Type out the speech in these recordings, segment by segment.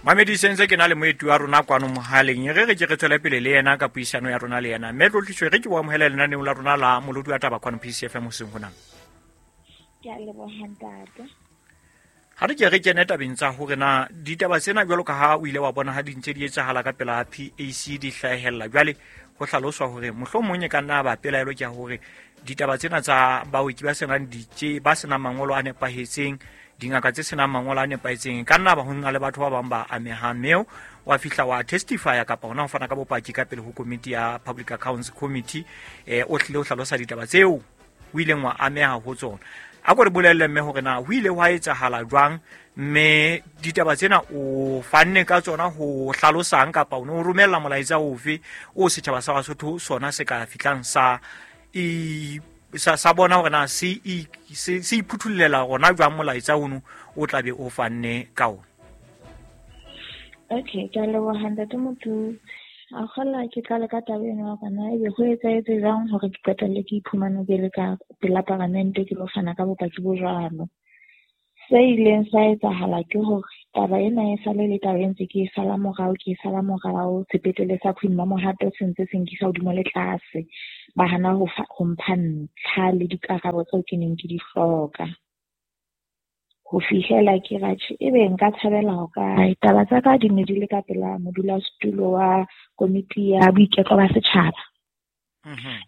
Mamedi sentse ke na le moeti wa rona kwano mohaleng, e re re ke re tswele pele le yena ka puisano ya rona le yena. Mme Tlotliso, re ke o amohele lenaneong la rona la Molodi wa Taba kwano PCFM hoseng hona. Ke a leboha ntate. Ha re ke re kene tabeng tsa hore na ditaba tsena jwalo ka ha o ile wa bona ha di ntse di etsahala ka pela PAC di hlahella, jwale ho hlaloswa hore mohlomong e ka nna ba pelaelo ke ya hore ditaba tsena tsa baoki ba senang ditse, ba senang mangolo a nepahetseng, dingaka tse senang mangolo a nepahetseng, ka nna ba ho na le batho ba bang ba amehang. Mme wa fihla wa testifya kapa hona ho fana ka bopaki ka pele ho komiti ya Public Accounts Committee, o hlile o hlalosa ditaba tseo o ileng wa ameha ho tsona. A ko re bolelle mme hore na ho ile hwa etsahala jwang, mme ditaba tsena o fanne ka tsona ho hlalosang kapa o ne o romella molaetsa ofe o setjhaba sa Basotho sona se ka fihlang sa i sa, sa bona hore na se i, se, se iphuthollela rona jwang molaetsa ono o tla be o fanne ka ona. Okay, ke a leboha ntate Motutsi. A kgola ke qale ka taba ena ya hore na ebe ho etsahetse jwang hore ke qetelle ke iphumane ke le ka pela paramente ke lo fana ka bopaki bo jwalo. Se ileng sa etsahala ke hore taba ena e sale le taba e ntse ke e sala morao, ke e sala morao, sepetlele sa Queen Mamohato se ntse se nkisa hodimo le tlase. Ba hana ho fa, ho mpha ntlha le dikarabo tseo ke neng ke di hloka. Ho fihlela ke ra tjhe, ebe nka thabela ho kae? Taba tsa ka di ne di le ka pela modulasetulo wa komiti ya boiketlo ba setjhaba.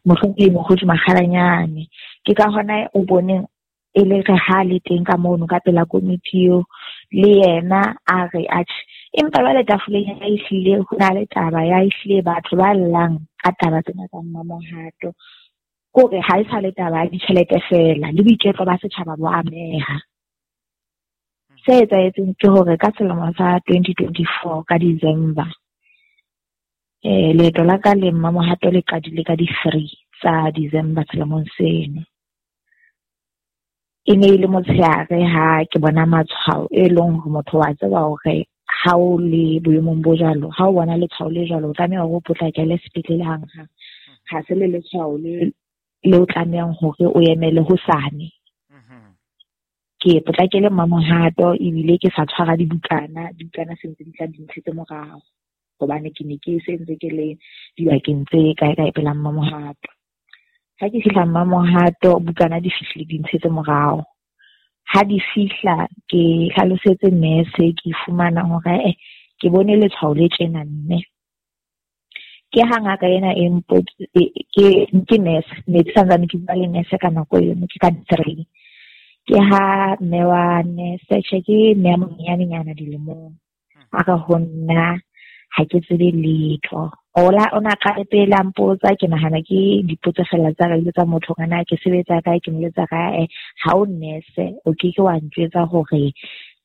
Mohlomphehi Mokgotsi Makgalanyane. Ke ka hona o boneng e le re ha le teng ka mono ka pela komiti eo, le yena a re atjhe. Empa jwale tafoleng ya ehlile ho na le taba ya ehlile batho ba llang ka taba tsena tsa Mmamohato. Kore ha e sa le taba ya ditjhelete feela, le boiketlo ba setjhaba bo ameha. Se etsahetseng ke hore ka selemo sa 2024 ka December, leeto la ka le Mmamohato le qadile ka di-3 tsa December selemong seno. E ne e le motshehare ha ke bona matshwao e leng hore motho wa tseba hore ha o le boemong bo jwalo, ha o bona letshwao le jwalo, o tlameha hore o potlakele sepetlele hanghang. Ha se le letshwao le o tlamehang hore o emele hosane. Ke potlakele Mmamohato ebile ke sa tshwara dibukana, dibukana se ntse di tla di ntshetse morao hobane ke ne ke se ntse ke le dibakeng tse kae kae pela Mmamohato. Ha ke fihla Mmamohato, bukana di fihlile di ntshetse morao. Ha di fihla ke hlalosetse nurse, ke fumana hore ke bone letshwao le tjena mme. Ke ha ngaka ena e ke, ke nurse, ne ke santsane ke bua le nurse ka nako eno, ke ka 3. Ke ha mme wa nurse, tjhe, ke mme a monyenyanenyana dilemong. A re ho nna ha ke tsebe letho. Ola, o na qale pele a mpotsa, ke nahana ke dipotso fela tsa ka, tsa motho hore na ke sebetsa kae, ke moletsa kae. Ha o nurse, o ke ke wa ntjwetsa hore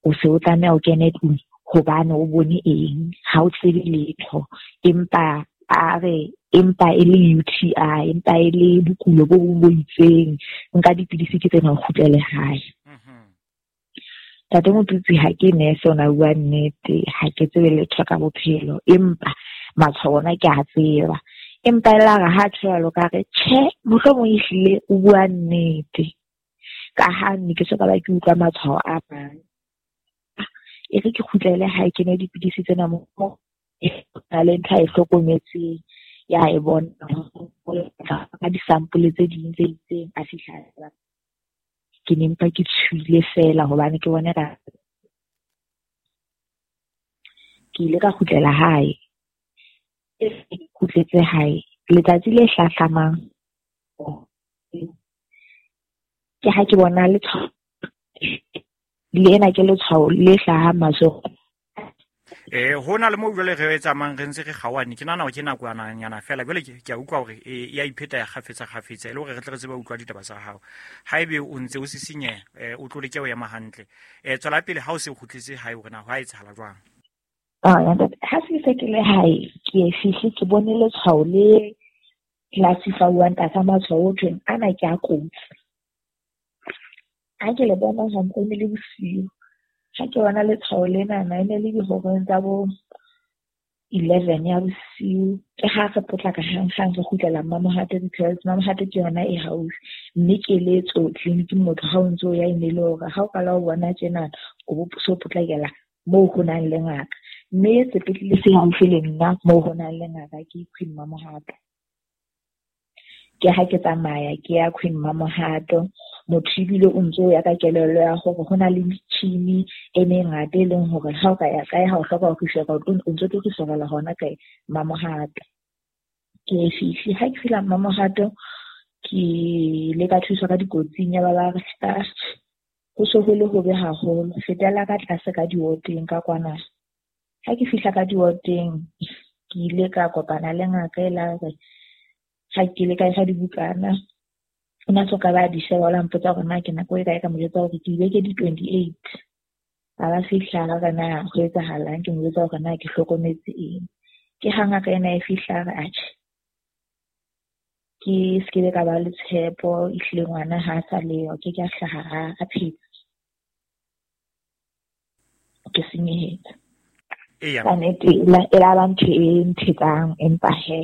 o se o tlameha o kene tlung hobane o bone eng, ha o tsebe letho. Empa a re, empa e le UTI, empa e le bokulo bo bong bo itseng, nka dipidisi ke tsena o kgutlele hae. Ntate Motutsi, ha ke nurse, o na bua nnete, ha ke tsebe letho ka bophelo, empa matshwao ona ke a tseba. Empa e la re ha tjho jwalo ka re, tjhe, mohlomong ehlile o bua nnete. Ka ha ne ke soka ba ke utlwa matshwao a mang. E re ke kgutlele hae, ke nwe dipidisi tsena mo, na le ntho a e hlokometseng, ya e bona ka di-sample tse ding tse itseng, a fihla. Ke ne mpa ke tshohile fela hobane ke bone ka ke ile ka kgutlela hae. Ke kgutletse hae letsatsi le hlahlamang, ke ha ke bona letshwao le ena ke letshwao le hlahang matsoho. Ho na le moo jwale re tsamayang re ntse re kgaohane, ke nahana hore ke nakwananyana fela. Jwale ke a utlwa hore e a ipheta ya kgafetsa kgafetsa, e le hore re tle re tsebe ho utlwa ditaba tsa hao. Haebe o ntse o sisinyeha, o tlo leke ho ema hantle. Tswela pele ha o se o kgutletse hae hore na ho a etsahala jwang. Ah, ha se se ke le hae, ke e fihle ke bone letshwao le classify-wang tlasa matshwao ho thweng ana ke a kotsi. Ha ke le bona hantle e ne le bosiu. Ha ke bona letshwao lena, e ne le dihoreng tsa bo 11 ya bosiu. Ke ha re potlaka hanghang re kgutlela Mmamohato because Mmamohato ke yona e haufi. Mme keletso tleliniking motho ha o ntso o ya e ne le hore ha o qala ho bona tjena, o bo so potlakela moo ho nang le ngaka. Mme sepetlele se haufi le nna moo ho nang le ngaka ke Queen Mamohato. Ke ha ke tsamaya ke ya Queen Mamohato, motho ebile o ntso ya ka kelello ya hore ho na le metjhini e mengata e leng hore ha o ka ya kae ha o hloka ho refer-a o ntso tlo refer-ela hona kae Mamohato. Ke fihle ha ke fihla Mamohato ke ile ka thuswa ka dikotsing ya ba ba re ho so ho le hobe haholo, fetela ka tlase ka diwoteng ka kwana. Ha ke fihla ka diwoteng ke ile ka kopana le ngaka e la re ha ke ile ka e fa dibukana, o na soka ba di sheba, o la mpotsa hore na ke nako e kae, ka mo jwetsa hore ke dibeke di 28. A ba fihla a re na ho etsahalang, ke mo jwetsa hore na ke hlokometse eng. Ke ha ngaka ena e fihla a re atjhe, ke se ke be ka ba le tshepo, ehlile ngwana ha a sa leyo, ke ke a hlaha a phetse. Ke senyehetse. Ka nnete e la ba ntho e nthetsang, empa he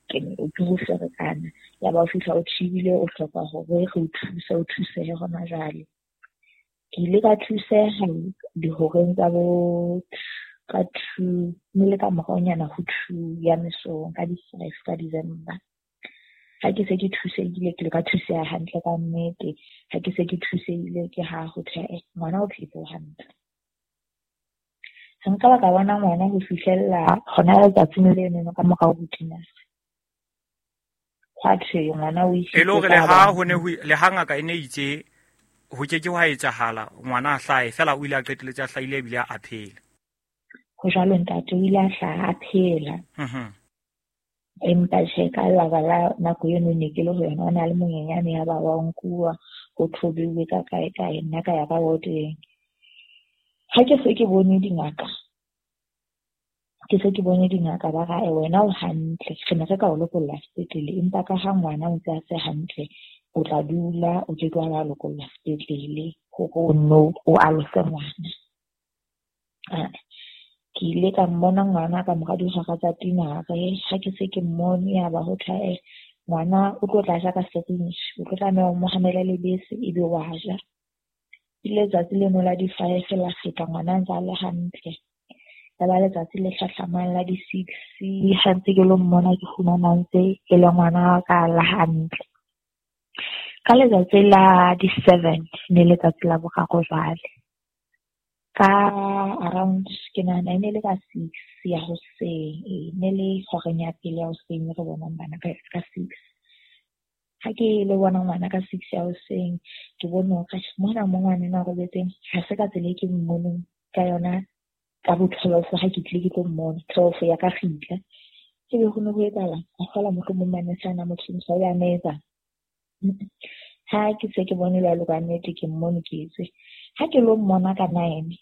ke ke ho ferekana. Ya ba o fihla o thibile, o hloka hore re o thuse, o thusehe hona jwale. Ke ile ka thuseha dihoreng tsa bo ka 2, mme le ka moraonyana ho 2 ya mesong ka di-5 ka December. Ha ke se ke thusehile, ke ile ka thuseha hantle ka nnete. Ha ke se ke thusehile ke ha ho thwe ngwana o phetse hantle. Ha nka ba ka bona ngwana ho fihlella hona letsatsing leno ka morao ho dinare. Hwa thwe ngwana o isitse. E le hore le ha ho ne ho le ha ngaka e ne itse ho ke ke hwa etsahala ngwana a hlahe, fela o ile a qetelletse a hlahile ebile a phela. Ho jwalo ntate, o ile a hlaha a phela. Empa tjhe, ka lebaka la nako eno ne ke le ho yona, o na le monyenyane ya ba wa nkuwa ho thobiwe ka kae kae, nna ka ya ka woteng. Ha ke se ke bone dingaka, ke se ke bone dingaka ba re wena o hantle, re ne re ka o lokolla sepetlele, empa ka ha ngwana o ntse a se hantle, o tla dula o ke ke wa ba lokolla sepetlele hore o nno o alose ngwana. Ke ile ka mmona ngwana ka mora dihora tsa tinare. Ha ke se ke mmone ya ba ho thwe ngwana o tlo tla ja ka syringe, o tlo tlameha o mo hamele lebese ebe wa ja. Ile letsatsi leno la di-5 la feta, ngwana a ntse a le hantle. Ya ba letsatsi le hlahlamang la di-6, ha ntse ke lo mmona ke fumana ntse e le ngwana wa ka la hantle. Ka letsatsi la di-7 ne letsatsi la boraro jwale. Ka around ke nahana e ne le ka 6 ya hoseng, e ne le horeng ya pele ya hoseng re bonang bana ka 6. Ha ke le bona ngwana ka 6 ya hoseng, ke bone hore mona mo ngwana enwa a robetseng ha se ka tsela e ke mmoneng ka yona ka bo 12 ha ke tlile ke tlo mmona 12 ya ka kgitla. Ebe ho ne ho etsahala, a kgola mohlomong manese ana motho o ya metsa. Ha ke se ke bone jwalo ka nnete ke mmone ke etswe. Ha ke lo mmona ka 9,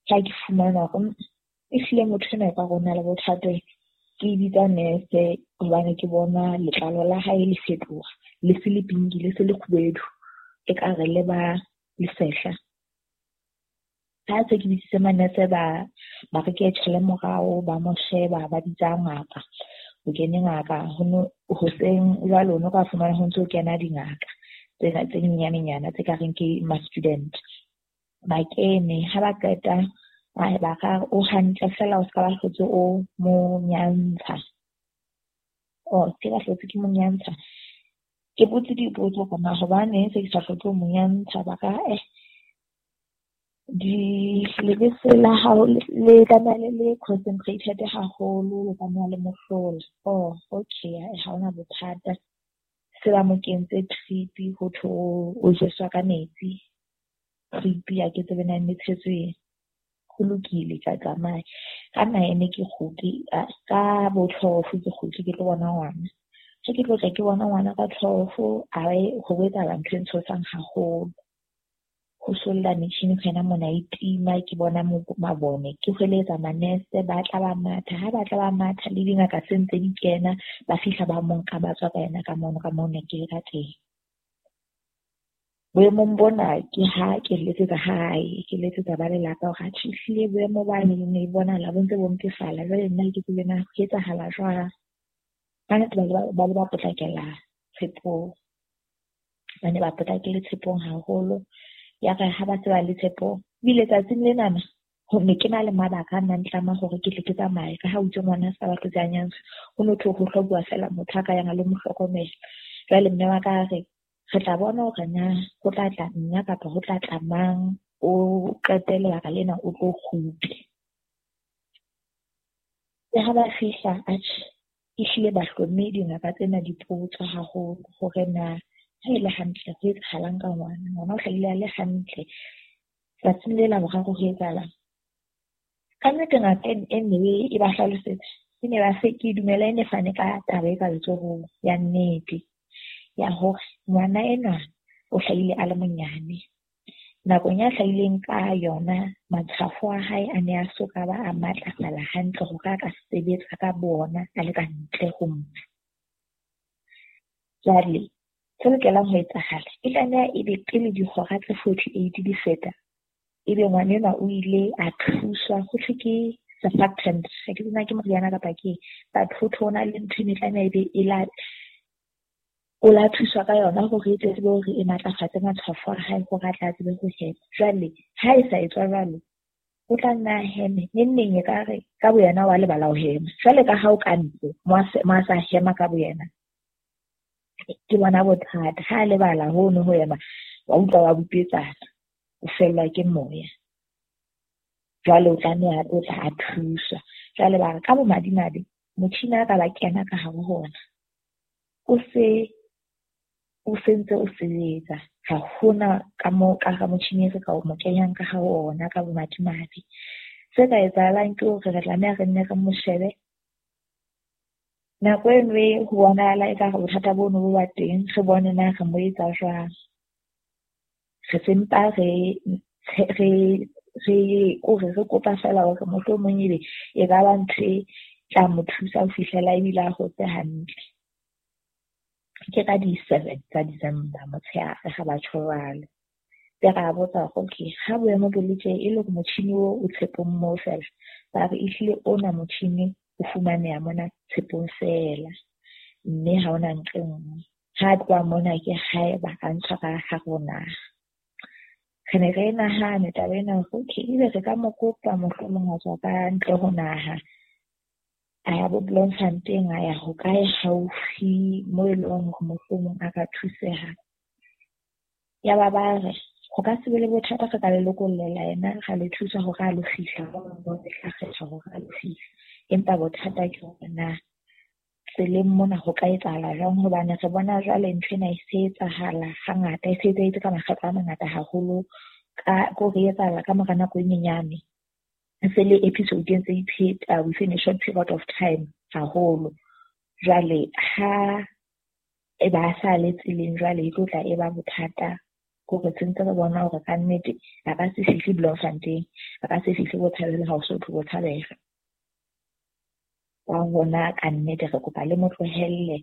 ha ke fumana hore ehlile motho enwa e ka rona le bothata, ke bitsa nurse hobane ke bona letlalo la hae le fetoha, le se le pinki, le se le kgubedu, ekare le ba lesehla. Ha se ke bitsitse manese ba re ke tjhele morao, ba mo sheba, ba bitsa ngaka. Ho kene ngaka hoseng jwale o no ka fumana ho ntso ho kena dingaka tsena tse nyenyanenyana tse ka reng ke ma-student. Ba kene, ha ba qeta ba ka o hantle fela o ska ba hlotse o mo nyantsha. O se ba hlotse ke mo nyantsha. Ke botse dipotso hore na hobaneng se ke sa hlotse ho mo nyantsha, ba ka di lebese la hao le tlameha le le concentrated haholo, le tlameha le mohlola. Oh, okay, ha hona bothata. Se ba mo kentse drip ho thwe o jeswa ka metsi. Drip ya ke tsebe na e tshetswe. Ho lokile, ka tsamaya. Ka 9 ke kgutle, ka bo 12 ke kgutle ke tlo bona ngwana. Ha ke tlo tla ke bona ngwana ka 12, a ho etsahala ntho e ntshosang haholo. Ho solla metjhini ho yena mona e tima, ke bona mabone, ke hweletsa manese, ba tla ba matha. Ha ba tla ba matha le dingaka se ntse di kena, ba fihla ba mo nka ba tswa ka yena ka mono, ka moo ne ke le ka teng. Boemong bona ke ha ke letsetsa hae, ke letsetsa ba lelapa hore atjhe ehlile boemo bane ne bonahala bo ntse bo mpefala, jwale nna ke tsebe na ho etsahala jwang. Ba ne ba le ba potlakela tshepong, ba ne ba potlakele tshepong haholo. Ya re ha ba se ba le tshepong, ebile tsatsing lenana Ho ne ke na le mabaka a nna ntlama hore ke tle ke tsamaye ka ha o itse ngwana a sa batle tsa nyantsha, ho no thwe ho hlobuwa fela motho a ka yang a lo mo hlokomela. Jwale mme wa ka a re re tla bona hore na ho tla tla nna kapa ho tla tla mang, o qete lebaka lena o tlo kgutle. Le ha ba fihla atjhe, ehlile ba hlomme dingaka tsena dipotso haholo hore na ha e le hantle ho etsahalang ka ngwana. Ngwana o hlahile a le hantle, tsatsing le la boraro ho etsahalang. Ka nnete ngaka e ne e ba hlalosetsa, e ne ba se ke dumela e ne fane ka taba e ka letsohong ya nnete ya hore ngwana enwa o hlahile a le monyane. Nakong ya hlahileng ka yona matshwafo a hae a ne a soka ba a matlafala hantle hore a ka sebetsa ka bona a le ka ntle ho mpa. Jwale se lokelang ho etsahala e tlameha ebe pele dihora tse 48 di feta, ebe ngwana enwa o ile a thuswa ho thwe ke surfactant, ha ke tsebe na ke moriana kapa ke eng, but ho thwe ho na le ntho e ne tlameha ebe e la o la thuswa ka yona hore e tle tsebe hore e matlafatse matshwafo a hae hore a tla tsebe ho hema. Jwale ha e sa etswa jwalo, o tla nna a heme neng neng ekare ka boyena wa lebala ho hema. Jwale ka ha o ka ntle mo a sa hema ka boyena, ke bona bothata. Ha a lebala hono ho hema, wa utlwa wa bupetsana, o fellwa ke moya. Jwale o tlameha o tla a thuswa. Jwale ba re ka bomadimabe motjhini a ka ba kena ka hare ho ona, o se o sentse o sebetsa. Ha hona ka moo ka hara motjhini e re ka o mo kenyang ka hare ho ona ka bomadimabe. Se ka etsahalang ke hore re tlameha re nne re mo shebe. Nako e nngwe ho bonahala ekare bothata bono bo ba teng, re bone na re mo etsa jwang. Re sempa re re kore re kopa fela hore mohlomong ebe e ka ba ntho e tla mo thusa ho fihlela ebile a hotse hantle. Ke ka di-7 tsa December motshehare ha ba tjho jwalo. Be ra botsa hore okay, ha boemo bo le tje e le hore motjhini oo o tshepong moo fela, ba re ehlile ona motjhini o fumaneha mona tshepong fela, mme ha hona nqe nngwe. Ha tloha mona ke haeba a ntshwa ka hare ho naha. Re ne re nahane taba ena hore okay, ebe re ka mo kopa mohlomong ho tswa ka ntle ho naha, a ya bo Bloemfontein, a ya hokae haufi moo e leng hore mohlomong a ka thuseha. Ya ba ba re ho ka se be le bothata, re ka le lokollela yena, ra le thusa hore a lo fihla moo re tla kgetha hore a lo fihla. Empa bothata ke hore na tseleng mona ho ka etsahala jwang, hobane re bona jwale ntho ena e se etsahala hangata, e se etsahetse ka makgetlo a mangata haholo, ka ko re etsahala ka mora nako e nyenyane. E se le episode e ntse ipheta within a short period of time haholo. Jwale ha e ba sa le tseleng jwale e tlo tla e ba bothata, hore sentse re bona hore ka nnete a ka se fihle Bloemfontein, a ka se fihle Botshabelo, ha o so thwe Botshabelo. Ka hona ka nnete re kopa le mo tlohelle,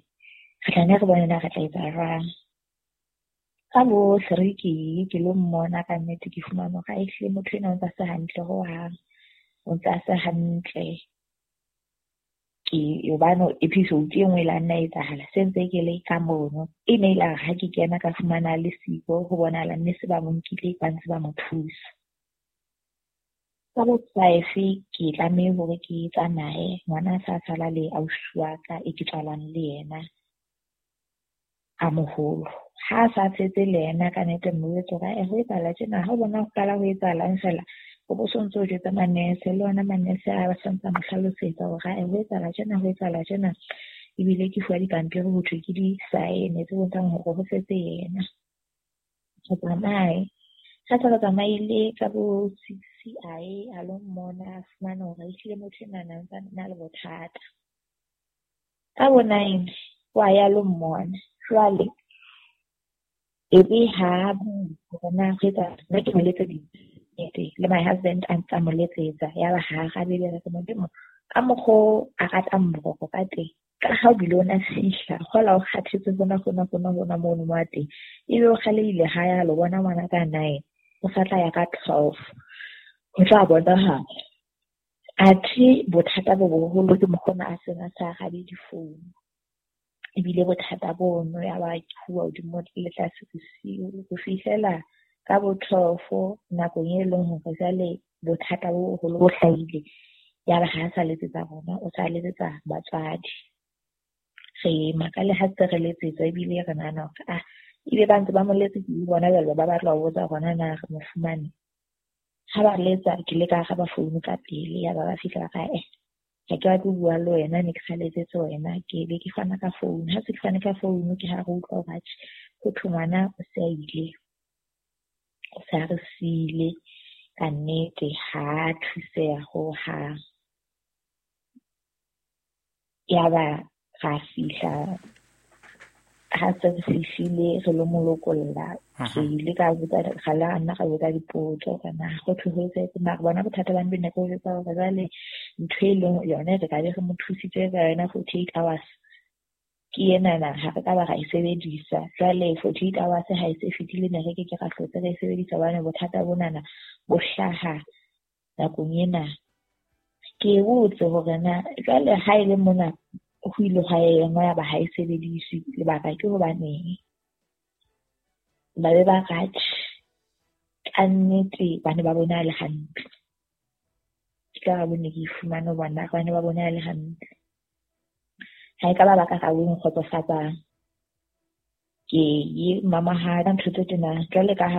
re tla nne re bone na re tla etsa jwang. Ka bo 3 ke lo mmona ka nnete, ke fumane hore ehlile motho enwa o ntse a se hantle hohang, o ntse a se hantle. Ke hobane episode e nngwe e la nna etsahala se ntse ke le ka mono, e ne ile ha ke kena ka fumana le siko, ho bonahala mme se ba mo nkile ba ntse ba mo thusa. Ka bo 5 ke tlameha hore ke tsamaye, ngwana a sa sala le ausi wa ka e ke tswalang le yena a moholo. Ha a sa tshetse le yena ka nnete mme o jwetse hore ho etsahala tjena, ha o bona ho qala ho etsahalang fela, o bo so ntso o jwetsa manese, le ona manese a sa ntse a mo hlalosetsa hore ho etsahala tjena, ho etsahala tjena. Ebile ke fuwa dipampiri ho thwe ke di-sign tse bontshang hore ho setse yena. Re tsamaye. Ha se re tsamaile ka bo 6 a ye a lo mmona, a fumana hore ehlile motho enwa na ntse a na le bothata. Ka bo 9 wa ya lo mmona. Jwale ebe ha hore na ho etsahala, nna ke mo letseditse le my husband a ntse a mo letsetsa, ya ba ha arabe. Be re Modimo ka mokgo a ratang boroko ka teng, ka ha o bile o na fihla hola o kgathetse hona hona hona hona mono mo a teng, ebe o kgalehile ha ya lo bona ngwana ka 9, o sa tla ya ka 12 ho tla bonahala. Athe bothata bo boholo ke mokgona a seng a sa arabe difounu, ebile bothata bono ya ba ke huwa hodimo le tlase bosiu ho fihlela ka bo 12 nakong e leng hore jwale bothata bo boholo bo hlahile. Yaba ha a sa letsetsa rona, o sa letsetsa batswadi. Re makale ha se re letsetswa ebile re nahana hore ebe ba ntse ba mo letsetsa le bona jwale ba batla ho botsa hore na re mo fumane. Ha ba letsa ke ile ka araba founu ka pele, yaba ba fihla ba re ha ke batle ho bua le wena, ne ke sa letsetse wena. Ke be ke fana ka founu. Ha se ke fane ka founu ke ha re utlwa hore atjhe ho thwe ngwana o se a ile, o se a re siile ka nnete, ha a thuseha hohang. Yaba ra fihla, ha se re fihlile re lo mo lokolla. Ke ile ka botsa, ra la nna ra botsa dipotso hore na ho thwe ho etsahetse. Mara bona bothata ba ne ke o jwetsa hore jwale ntho e leng yone re ka be re mo thusitse ka yona 48 hours ke enana, ha re ka ba ra e sebedisa. Jwale 48 hours ha e se fetile, ne re ke ke ra hlotse re e sebedisa hobane bothata bonana bo hlaha nakong ena. Ke botse hore na jwale ha e le mona ho ile hwa engwa ya ba ha e sebediswe, lebaka ke hobaneng? Ba be ba re atjhe ka nnete ba ne ba bone a le hantle. Ke karabo ne ke e fumane ho bona, ba ne ba bone a le hantle. Ha e ka ba ba karabo e nkgotsofatsang. Ke ye mamahala ntho tse tjena jwale ka ha